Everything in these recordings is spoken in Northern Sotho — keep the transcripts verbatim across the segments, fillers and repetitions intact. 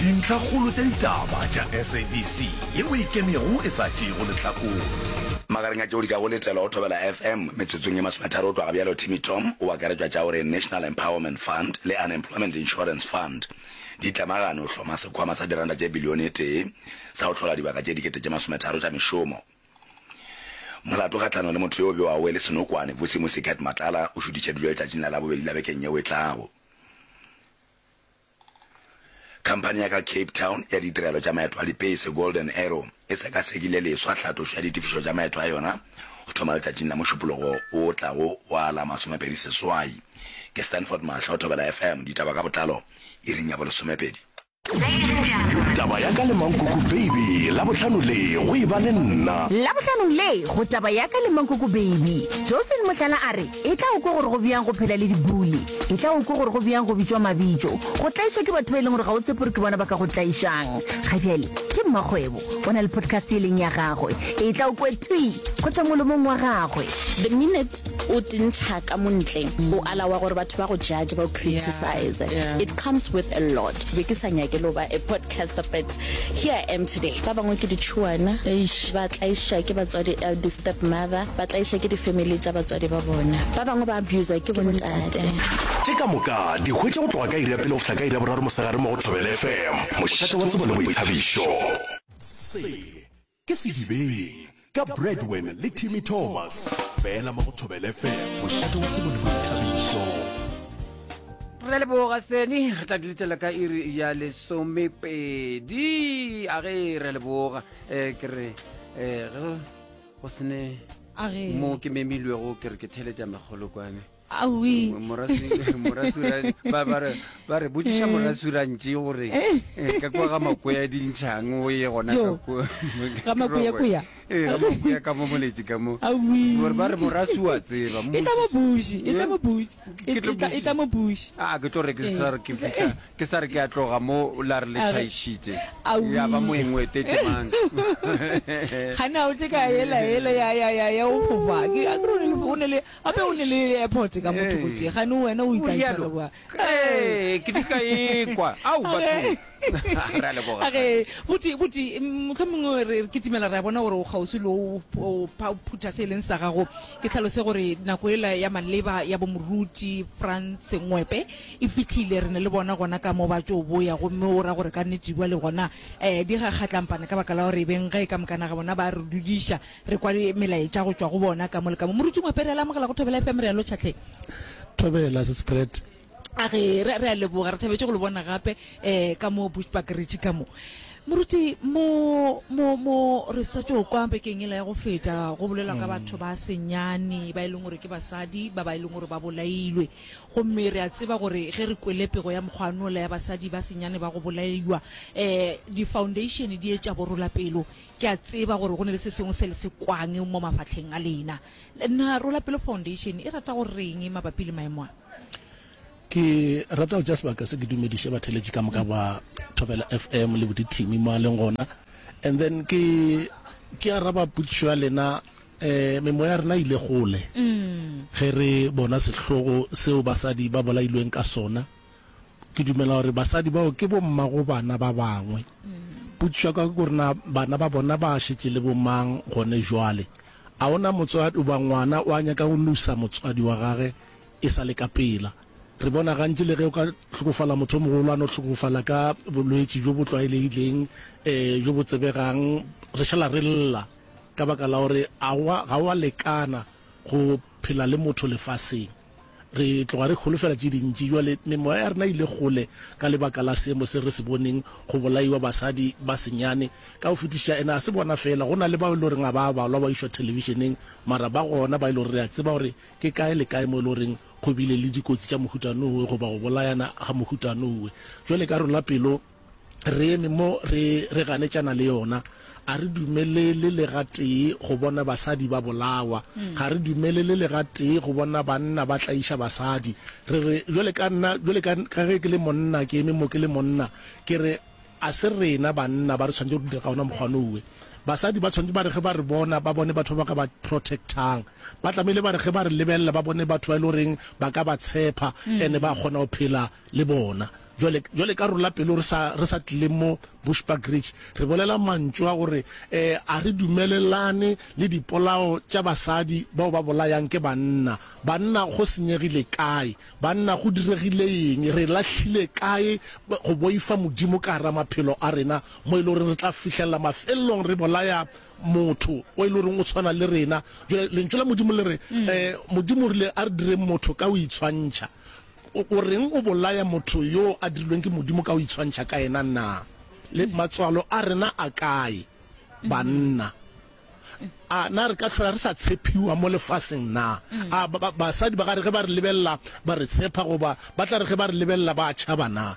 Dintlhakgolo tša ditaba tša S A B C yeo e ikemego e sa tšeego lehlakore. Magareng a tšeo di kago letelwa go Thobela F M metsotsong ye masometharo go tloga bjalo, Timmy Tom o akaretšwa tša gore National Empowerment Fund le Unemployment Insurance Fund di tlemagane go hloma sekhwama sa diranta tše bilione e tee sa go hlola dibaka tše dikete tše masometharo tša mešomo. Molato kgahlanong le motho yo o bewago e le senokwane, Vusimusi Cat Matlala, o šuthišeditšwe letšatšing la Labobedi la bekeng yeo e tlago. Khamphani ya ka Cape Town ya ditirelo tša maeto a dipese, Golden Arrow, e sekasekile leswa hlatošo ya ditefišo tša maeto a yona go thoma letšatšing la Mošupologo wo o tlago wa la masomepedi seswai. Ke Stanford Mahlo, Thobela F M, ditaba ka botlalo iring ya bolesomepedi. Taba ya ka le Mankoko Baby, Labohlano le go e ba le nna. Labohlanong le go Taba ya ka le Mankoko Baby, Dolphin Mohlala a re e tla o kwe gore go bjang go phela le dibully, e tla o kwe gore go bjang go bitšwa mabitšo, go tlaišwa ke batho ba e leng gore ga o tshepe gore ke bona ba ka go tlaišang. Ga bjale ke mmakgwebo, o na le podcast e leng ya gagwe, e tla o kwe thwi go tšwa molomong wa gagwe. The minute o tintšha ka mo ntle, o alawa gore batho ba go judge, ba go criticize. It comes with a lot. Be ke sa nyake le go ba a podcaster, but here I am today. Ba bangwe ke ditšhuana, ba tlaiša ke batswadi, di-step mother, ba tlaiša ke di-family tša batswadi ba bona. Ba bangwe ba abuser ke bontate. Tše ka moka di hwetše go tloga ka iri ya pele go fihla ka iri ya boraro mosegare mo go Thobela F M, mošate wa tsebo le boithabišo. Se ke Sedibeng ka Bradwin le Timmy Thomas, fela mo go Thobela F M, mošate wa tsebo le boithabišo. Re leboga Seni, re tla di letela ka iri ya lesomepedi. A ge re leboga um ke re um ge go sene A ge. Mo ke memilwego, ke re ke theletša megolokwane. Aowi. Morasura ba ba re ba re botšiša morasurantši gore eh, ka kwa ga makoya dintšhang o ye gona ka Yo. kwa Ga makuyakuya. Ee, ga makuya ka mo moletši ka mo. Aowi. Gore ba re morasu wa tseba. E tla mo buši, e tla mo buši. Ke tlo E tla- e tla mo buši. A ke tlo re ke sa re ke fihla ke sa re ke a tloga mo la re le A re- tšhaišitše. Aowi. Ya ba moeng o etetše mang. Gana o tle ka ela ela ya ya ya ya o fofa. Ke a kere o ne le o ne le gape o ne le airport ka motho go tše. Gane wena o O itla rialo. bua. Ee, ke di ka ekwa. Au batho. Re a leboga. Age buti buti mohlomongwe re re kitimela, re a bona gore o kgauswi le o o pha- phutha se e leng sa gago. Ke tlhalose gore nako ela ya maleba ya bomoruti Frans Ngwepe e fihlile, re ne le bona gona ka mo ba tšo boya, gomme o ra gore ka nnete bua le gona um di ga kgatlampana ka baka la gore beng ge ka mokana ga bona ba re dudiša re kwa melaetša go tšwa go bona ka mo le ka mo. Moruti Ngwepe, re a le amogela go Thobela F M, re a lotšhatlhe. Thobela se spread. A ge re re a leboga, re thabetše go le bona gape um ka mo Bushbuckridge ka mo. Moruti, mo mo mo re sa tšo kwa bekeng ela ya go feta go bolelwa ka batho ba senyane ba e leng gore ke basadi ba ba e leng gore ba bolailwe, gomme re a tseba gore ge re kwele pego ya mokgwanola ya basadi ba senyane ba go bolaiwa, um di-foundation di etša borola pelo. Ke a tseba gore go ne le se sengwe se le se kwang mo mafatlheng a lena. Nna Rola Pelo Foundation e rata go reng mabapi le maemo a? Ke rata go tša sebaka se ke dumediše batheletši ka moka ba Thobela F M le bodithimi mo a leng gona, and then ke ke araba potšišo ya lena. um memoya ya rena ile gole ge re bona sehlogo seo basadi ba bolailweng ka sona. Ke dumela gore basadi bao ke bommago bana ba bangwe. Potšišo ya ka ke gore na bana ba bona ba šetše le bomang gone jwale? A ona motswadi ba ngwana o a nyaka go losa motswadi wa gage e sa le ka pela. Re bona gantši le ge o ka hlokofala motho o mogolo, a no hlokofala ka bolwetši bjo bo tlwaelegileng, um jo bo tsebegang, re šala re lla ka baka la gore ga wa lekana go phela le motho lefaseng. Re tloga re holofela tše dintši. Jwale memoya ya rena ile gole ka lebaka la seemo se re se boneng go bolaiwa basadi ba senyane ka go fetiša. Ene a se bona fela, go na le bao e le goreng ga ba balwa ba išwa thelebišeneng, mara ba gona ba e le gore re a tseba gore ke kae le kae mo e le goreng go bile le dikotsi tša mohutanowe goba go bolayana ga mohutanowe. Jwale ka Rola Pelo re eme mo re re ganetšana le yona. A re dumelele le gatee go bona basadi ba bolawa, ga re dumelele le gatee go bona banna ba tlaiša basadi. Re re jwale ka nna, jwale ka ka ge ke le monna, ke eme mo ke le monna, ke re a se rena banna ba re tshwanetse go dira ka ona mokgwanowe. Basadi ba tshwanetse ba re ge ba re bona ba bone batho ba ka ba protectang. Ba tlamehile ba re ge ba re lebelela ba bone batho ba e le goreng ba ka ba tshepa and ba kgona go phela le bona. Jwale, jwale ka rola pelo re sa, re sa tlile mo Bushbuckridge, re bolela mantšu a gore eh, a re dumelelane le dipolao tša basadi bao ba bolayang ke banna. Banna go senyegile kae? Banna go diregile eng? Re lahlile kae go boifa Modimo ka gara maphelo a rena mo e le goreng re tla fihlelela mafelelong re bolaya motho o e le goreng o tshwana le rena? Jwale Lentšu la Modimo le re, eh, Modimo o rile a re direng motho ka go itshwantšha. O, o reng o bolaya motho yo a dirilweng ke Modimo ka go itshwantšha ka yena na? Le matswalo a rena a kae, banna? A na re ka hlola re sa tshepiwa mo lefaseng na? A ba, ba, basadi ba ka re ge ba re lebelela ba re tshepa, goba ba tla re ge ba re lebelela ba tšhaba na?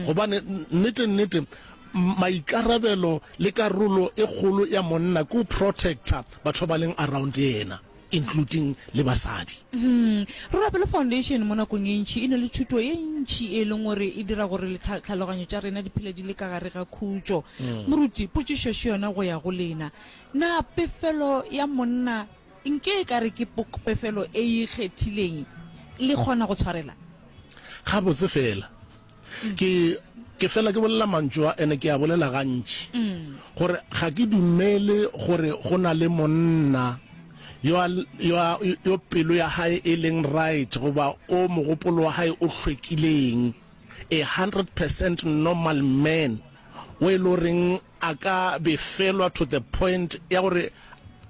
Gobane nnete, nnete, maikarabelo le karolo e kgolo ya monna ke go protecta batho ba ba leng around yena, including le basadi. Rorapelo Foundation mo nakong e ntši e na le thuto ye ntši e leng gore e dira gore tlhaloganyo tša rena di phele di le ka gare ga khutšo. Moruti, potšišo še yona go ya go lena. Na pefelo ya monna nke e ka re ke pefelo e ikgethileng, le kgona go tshwarela? Gabotse fela. Ke, ke fela ke bolela mantšu a, ene ke a bolela gantši, gore ga ke dumele gore go na le monna yo a, yo a, yo pelo ya hae e leng right goba o mogopolo wa hae o hlwekileng, a hundred percent normal man, o e le goreng a ka befelwa to the point ya gore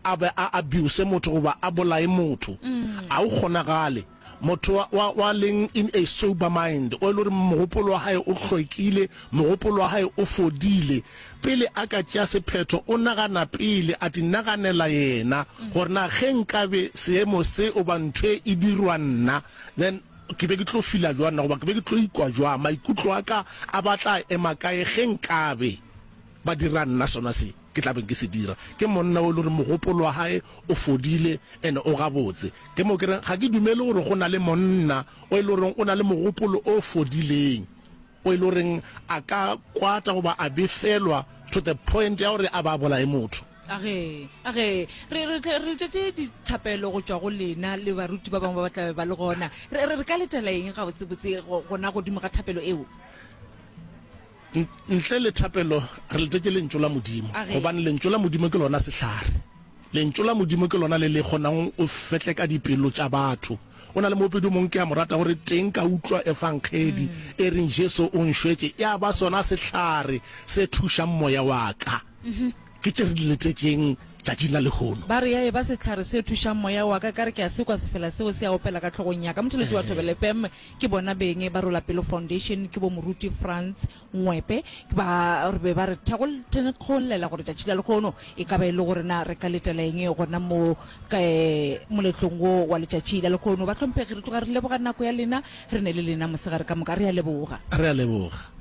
a be a abuse motho goba a bolaye motho. A o kgonagale. Motho wa, wa, wa leng in a sober mind, o e le gore mogopolo wa hae o hlwekile, mogopolo wa hae o fodile, pele a ka tšea sephetho o nagana pele, a di naganela yena, gore na ge nkabe seemo se oba ntho e dirwa nna, then ke be ke tlo fila jwang na, goba ke be ke tlo ikwa jwang, maikutlo a ka a ba tla ema kae ge nkabe ba dira nna sona se ke tla beng ke se dira. Ke monna o e le gore mogopolo wa hae o fodile and o gabotse. Ke mo ke reng ga ke dumele gore go na le monna o e le goreng o na le mogopolo o fodileng, o e le goreng a ka kwata goba a befelwa to the point ya gore a ba bolaye motho. Age, age, re re re letšetše dithapelo go tšwa go lena le baruti ba bangwe ba ba tlabe ba le gona. Re re re ka letela eng gabotsebotse gona godimo ga thapelo eo? Ntle le thapelo re letetše Lentšu la Modimo, gobane Lentšu la Modimo ke lona sehlare. Lentšu la Modimo ke lona le le kgonang go fetleka dipelo tša batho. O na le moopedi o mongwe ke a mo rata, gore teng ka utlwa Efangedi e reng Jesu o nšwetše, ya ba sona sehlare se thušang moya wa ka. Ke tše re di letetšeng tšatšing la lehono. Ba re ya eba sehlare se thušang moya wa ka, ka re ke a se kwa sefela seo se a opela ka hlogong ya ka. Motheletši wa Thobela F M ke bona beng ba Rolapelo Foundation, ke bo Moruti Frans Ngwepe, ke ba re be ba re thekgollela gore tšatši la lehono e ka ba e le gore na re ka letela eng gona mo ka moletlong wo wa letšatši la lehono. Bahlomphegi, re tloga re leboga nako ya lena, re ne le lena mosegare ka moka. Re a leboga. Re a leboga.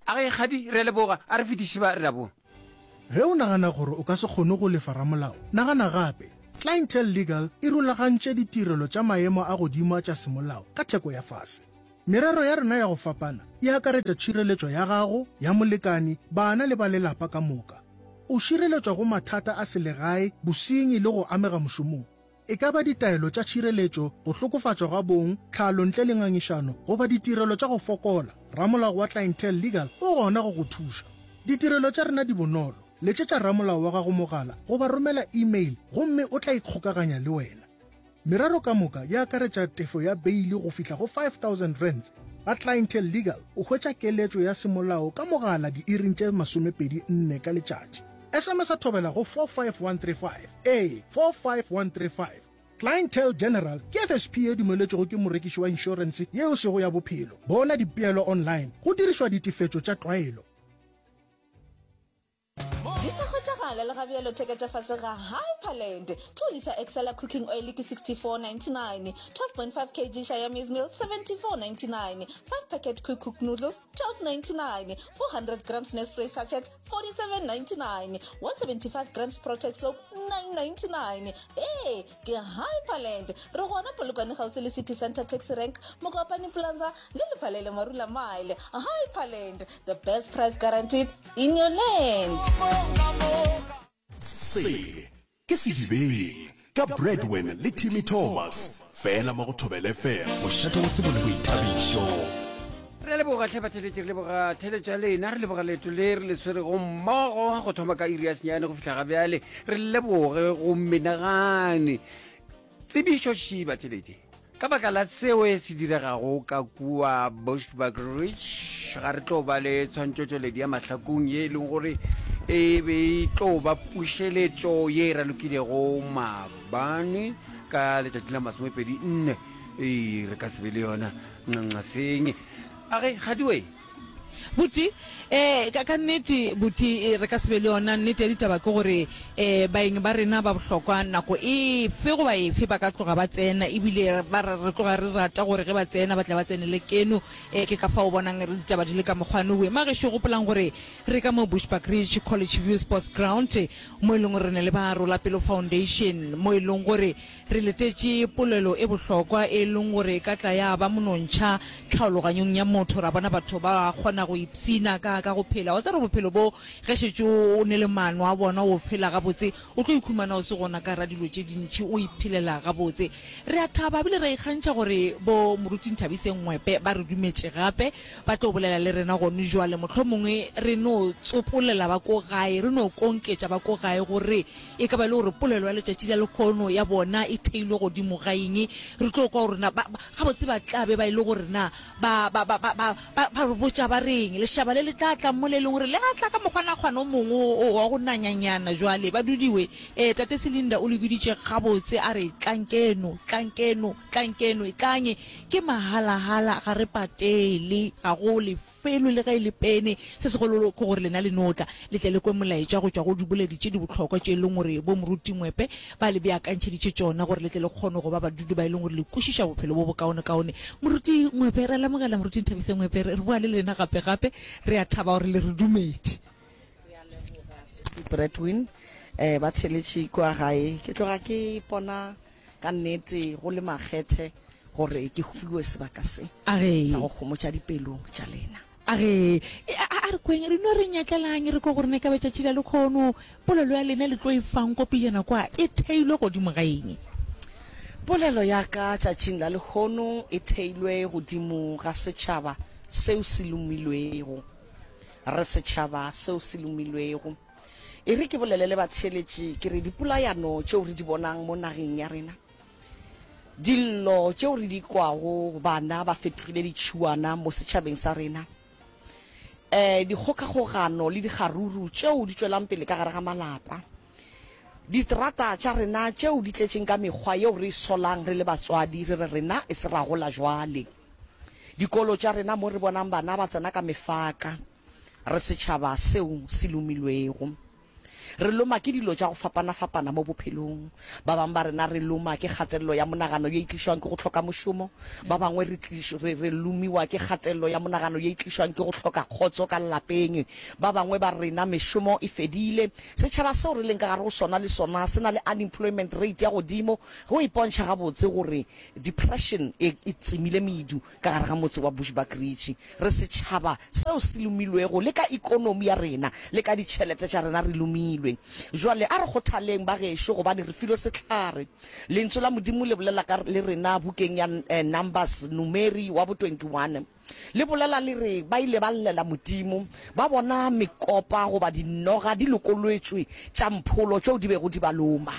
A ge, kgadi, re a leboga. A re fetiše ba, re a boa. Ge o nagana gore o ka se kgone go lefa ramolao, nagana gape. Clientele Legal e rulagantše ditirelo tša maemo a godimo a tša semolao ka theko ya fase. Merero ya rena ya go fapana e akaretša tšhireletšo ya gago, ya molekani, bana le ba lelapa ka moka. O šireletšwa go mathata a selegae, bosenyi le go amega mošomong. E ka ba ditaelo tša tšhireletšo, go hlokofatšwa ga bong, tlhalo ntle le ngangišano, goba ditirelo tša go fokola, ramolao wa Clientele Legal o gona go go thuša. Ditirelo tša rena di bonolo. Letšetša ramolao wa gago mogala goba romela email gomme o tla ikgokaganya le wena. Merero ka moka e akaretša tefo ya beili go fihla go five thousand rands. Ga Clientele Legal o hwetša keletšo ya semolao ka mogala diiring tše masomepedi nne ka letšatši. S M S a thobela go four five one three five, ee, four five one three five. Clientele General ke F S P ye dumeletšwego ke morekiši wa inšorense yeo sego ya bophelo. Bona dipeelo online go dirišwa ditefetšo tša tlwaelo. Di sa hwetšagale. Phala le gabjalo theka tša fase ga Hyperland. Two litre Excella cooking oil ke sixty-four ninety-nine, twelve point five kg Shaya maize meal seventy-four ninety-nine, five packet quick cook noodles twelve ninety-nine, four hundred grams Nestle sachet forty-seven ninety-nine, one seventy-five grams Protex soap nine ninety-nine. Ee, ke Hyperland. Re gona Polokwane kgauswi le City Centre Taxi Rank, Mokopane Plaza le Lephalele Marula Mile. Hyperland, the best price guaranteed in your land. Se ke Sedibeng ka Bradwin le Timmy Thomas, fela mo go Thobela F M, mošate wa tsebo le boithabišo. Re a leboga hle batheletši, re leboga theletšo ya lena, re leboga leeto le re le swerego mmogo go thoma ka iri ya senyane go fihla ga bjale. Re leboge go menagane. Tsebišo ši batheletši, ka baka la seo se diregago ka kua Bushbuckridge, ga re tlo ba le tshwantšotšweledi ya mahlakong ye e leng gore e be e tlo ba pušeletšo ye e ralokilego maabane ka letšatši la masomepedi nne. Ee, re ka se be le yona nxanxaseng. A ge gadiwe. Buti, eh, ka, ka nnete, buti, re ka se be le yona. Nnete ya ditaba ke gore, eh, baeng ba rena ba bohlokwa nako efe goba efe ba ka tloga ba tsena, ebile ba re, re tloga re rata gore ge ba tsena ba tle ba tsenele keno. Eh, ke ka fao o bonang re ditaba di le ka mokgwa nowe. Magešo, gopolang gore re ka mo Bushbuckridge College View Sports Ground, mo e leng gore re ne le ba Rola Pelo Foundation, mo e leng gore re letetše polelo e bohlokwa e leng gore e ka tla ya ba monontšha tlhaologanyong ya motho, ra bona batho ba kgona go ipshina ka, ka go phela. Wa tseba gore bophelo bo, ge šetše o ne le maano a bona, o phela gabotse, o tlo ikhumana o se gona ka gara dilo tše dintši, o iphelela gabotse. Re a thaba ebile re a ikgantšha gore bo Moruti Nthabiseng Ngwepe ba re dumetše gape, ba tlo bolela le rena gone jwale. Mohlomongwe re no tsopolela ba ko gae, re no konketša ba ko gae gore e ka ba e le gore polelo ya letšatši la lekgono ya bona e theilwe godimo ga eng. Re tlo kwa gore na ba, ba, gabotse ba tla be ba e le gore na ba, ba, ba, ba, ba, ba, ba re botša ba reng. Lešaba le le tla tla mo le leng gore le a tla ka mokgwanakgwana o mongwe o, o, wa go nanyanyana. Jwale ba dudiwe. Eh, Tate Selinda o le biditše gabotse, a re, Tlang keno, tlang keno, tlang keno, etlang. Ke mahalahala, ga re patele, ga go lefelwe le ge e le pene. Se segolo ke gore lena le no tla, le tle le kwe molaetša go tšwa go diboledi tše di bohlokwa tše e leng gore bo Moruti Ngwepe ba le beakantšheditše tšona, gore le tle le kgone go ba badudi ba e leng gore le kwešiša bophelo bo bokaonekaone. Moruti Ngwepe, re a lemogela. Moruti Nthabiseng Ngwepe, re boa le lena gape gape. Re a thaba gore le re dumetše. Re a leboga, Sesi Bradwin. Eh, ba theletše kua gae. Ke tloga ke ipona ka nnete go le makgethe gore ke fiwe sebaka se sa go homotša dipelo tša lena. A re, a, a re kweng, re no re nyatlelang, re kwe gore na e ka ba tšatši la lekgono, polelo ya lena le tlo e fang ko pejana kwa, e theilwe godimo ga eng? Polelo ya ka tšatšing la lehono e theilwe godimo ga setšhaba seo se lomilwego. Re setšhaba seo se lomilwego. E re ke bolele le batheeletši ke re dipolayano tšeo re di bonang mo nageng ya rena, dillo tšeo re di kwago, bana ba fetogile ditšhuana mo setšhabeng sa rena, um dikgokagogano le dikgaruru tšeo di tšwelang pele ka gare ga malapa, diterata tša rena tšeo di tletšeng ka mekgwa yeo re e solang re le batswadi re re rena e se ra gola jwale, dikolo tša rena mo re bonang bana ba tsena ka mefaka, re setšhaba seo se lomilwego. Re loma ke dilo tša go fapana-fapana mo bophelong. Ba bangwe ba rena re loma ke kgatelelo ya monagano ye e tlišwang ke go hloka mošomo. Ba bangwe re, re, re lomiwa ke kgatelelo ya monagano ye e tlišwang ke go hloka kgotso ka lapeng. Ba bangwe ba rena mešomo e fedile. Setšhaba seo re leng ka gare go sona le sona se na le unemployment rate ya godimo. Go ipontšha gabotse gore depression e, e tsemile medu ka gare ga motse wa Bushbuckridge. Re setšhaba seo se lomilwego, le ka ekonomi ya rena, le ka ditšhelete tša rena re lomilwe. Jwale a re kgothaleng, bagešo, gobane re filwe sehlare. Lentswe la Modimo le bolela ka le rena bukeng ya Numbers, Numeri wa bo twenty-one. Le bolela le re ba ile ba llela Modimo, ba bona mekopa goba dinoga di lokolotšwe tša mpholo tšeo di bego di ba loma.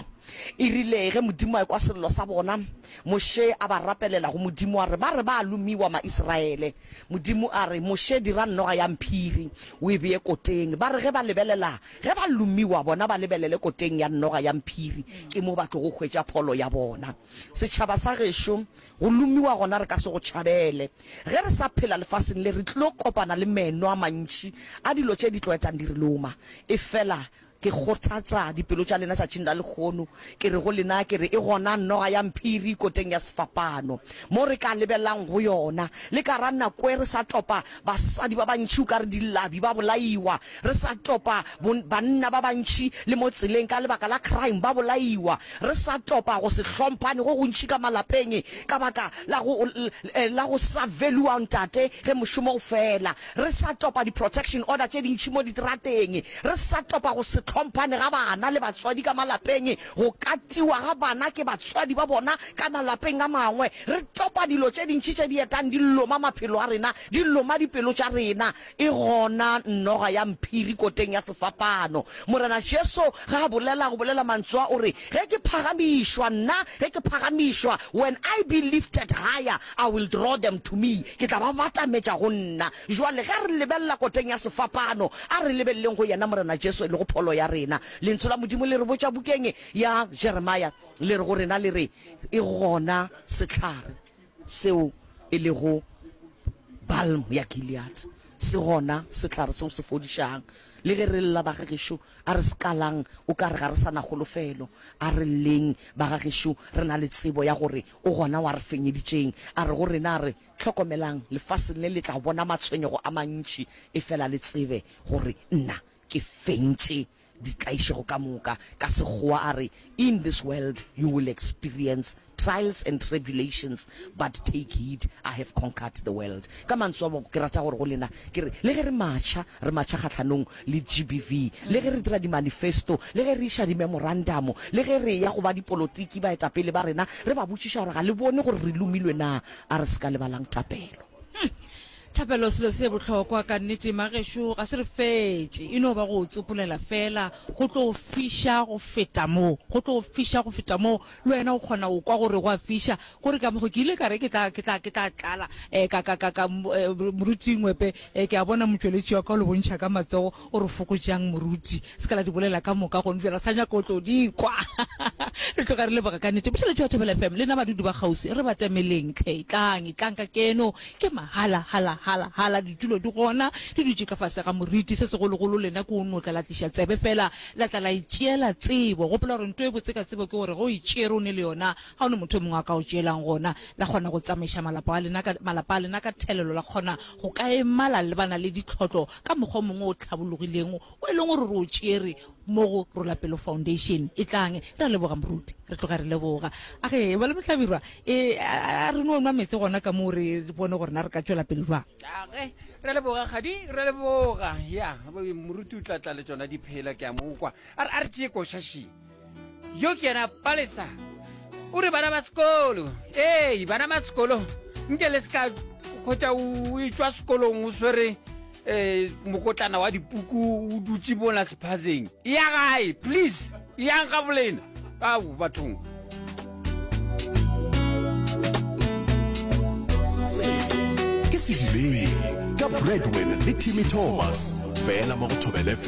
E rile ge Modimo a ekwa sello sa bona, Moshe a ba rapelela go Modimo a re, Ba re ba a lomiwa Maisraele. Modimo a re, Moshe, dira noga ya mphiri, o e bee koteng. Ba re ge ba lebelela, ge ba lomiwa, bona ba lebelele koteng ya noga ya mphiri, ke mo ba tlogo hwetša pholo ya bona. Setšhaba sa gešo, go lomiwa gona re ka se go tšhabele. Ge re sa phela lefaseng le, re tlilo kopana le meno a mantši a dilo tše di tlo etang di re loma. Efela Ke kgothatsa dipelo tša lena tšatšing la lehono, ke re go lena, ke re, e gona noga ya mphiri koteng ya sefapano, mo re ka lebelelang go yona. Le ka ra nako e re sa topa basadi ba bantši o ka re dilabi ba bolaiwa, re sa topa banna ba bantši le mo tseleng ka lebaka la crime ba bolaiwa, re sa topa go se hlomphane go gontši ka malapeng ka baka la go, la go sa value-wa ntate ge mošomo o fela, re sa topa di-protection order tše dintši mo diterateng, re sa topa go se hlomphane ga bana le batswadi ka malapeng, go katiwa ga bana ke batswadi ba bona ka malapeng a mangwe. Re topa dilo tše dintši tše di etang di loma maphelo a rena, di loma dipelo tša rena. E gona noga ya mphiri koteng ya sefapano. Morena Jesu ge a bolela, go bolela mantswe a, o re, Ge ke phagamišwa, nna, ge ke phagamišwa, when I be lifted higher, I will draw them to me, ke tla ba batametša go nna. Bjale ge re lebelela koteng ya sefapano, a re lebeleleng go yena Morena Jesu e lego pholo ya rena. Lentšu la Modimo le re botša bukeng ya Jeremia, le re go rena, le re, E gona sehlare seo e lego balm ya Gilead. Se gona sehlare seo se fodišang. Le ge re lla, bagagešo, a re se kalang o ka re ga re sa na kholofelo. A re lleng, bagagešo, re na le tsebo ya gore o gona wa re fenyeditšeng. A re go rena, a re, Hlokomelang, lefaseng le le tla bona matshwenyego a mantši, efela le tsebe gore nna ke fentše ditlaišego ka moka. Ka Sekgowa a re, In this world you will experience trials and tribulations, but take heed, I have conquered the world. Ka mantswe a ke rata gore go lena ke re, le ge re matšha, re matšha kgahlanong le G B V, le ge re dira di-manifesto, le ge re iša di-memorandum, le ge re eya go ba dipolotiki, baetapele ba rena, re ba botšiša gore ga le bone gore re lomilwe na? A re se ka lebalang thapelo. Hum. Thapelo selo se bohlokwa ka nnete magešo ga se re fetše e no ba go tsopolela fela go tlo fiša go feta mo go tlo fiša go feta mo le wena o kgona go kwa gore go a fiša gore ka mokgo ke ile ka re ke tla ke tla ke tla tlala eh, ka ka ka ka eh, moruti Ngwepe eh, ke a bona motšweletši wa ka o le bontšha ka matsogo o re fokotšang moruti se ka la di bolela ka moka gone bjale re sa nyaka o tlo di kwa re tloga re leboga ka nnete mošeletši wa Thobela F M le na badudi ba kgauswi re batameleng tlhe etlang etlang ka keno ke mahala hala hala hala ditulo di gona di dutše ka fase ga moriti se segologolo lena ke o no tla la tliša tsebe fela la tla la itšeela tsebo gopola gore nto e botse ka tsebo ke gore ge o e tšere o ne le yona ga o ne motho o mongwe a ka o tšeelang gona la kgona go tsamaiša malapa a lena ka malapa a lena ka thelelo la kgona go ka ema la lebana le ditlhotlo ka mokgwa o mongwe o tlhabologileng o e leng gore re o tšere mo go Rola Pelo Foundation. Etlang, re a leboga moruti, re tloga re leboga. A ge ba le mohlabirwa, e a re no nwa meetse gona ka moo re bone gore na re ka tšwela pele jwang. A ge re leboga kgadi, re leboga. Ya, moruti o tla tla le tšona diphela, ke a mo kwa. A re a re tšee koša še. Yo ke yena Palesa. O re bana ba sekolo, ee, bana ba sekolo, nke le se ka hwetša o etšwa sekolong o swere eh, mokotlana wa dipuku o dutše mola sephazeng. Ya gae, please, yang ga bolena. Ao, bathong. Se ke Sedibeng ka Bradwin le Timmy Thomas, fela mo go Thobela F M.